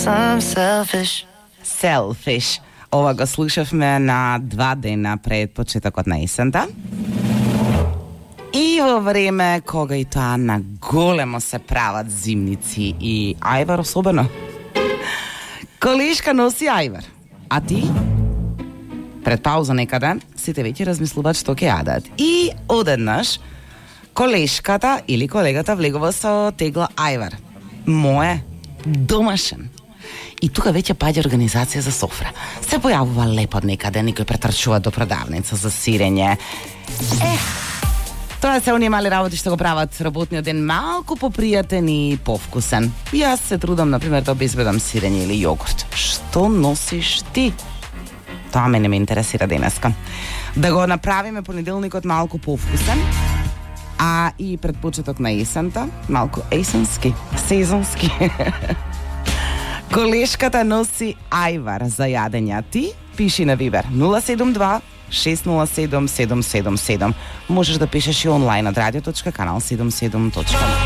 Selfish. Ова го слушавме на 2 дена пред почетокот на есента. И во време кога и тоа на големо се прават зимници и ајвар особено. Колешка носи ајвар. А ти? Пред пауза некаде, сите веќе размислуваат што ќе јадат. И одеднаш, колешката или колегата влегува со тегла ајвар. Мое, домашен. И тука веќе паѓа организација за софра. Се појавува лепо некаде, некој претрчува до продавница за сирење. Тоа се оние мали работи што го прават работниот ден малку попријатен и повкусен. Јас се трудам, например, да обезбедам сирење или јогурт. Што носиш ти? Тоа мене ме интересира денеска. Да го направиме понеделникот малку повкусен, а и пред почеток на есента, малку есенски, сезонски. Колешката носи ајвар за јадење. Ти пиши на Вибер 072 607 777. Можеш да пишеш и онлайн од radio.канал77.com.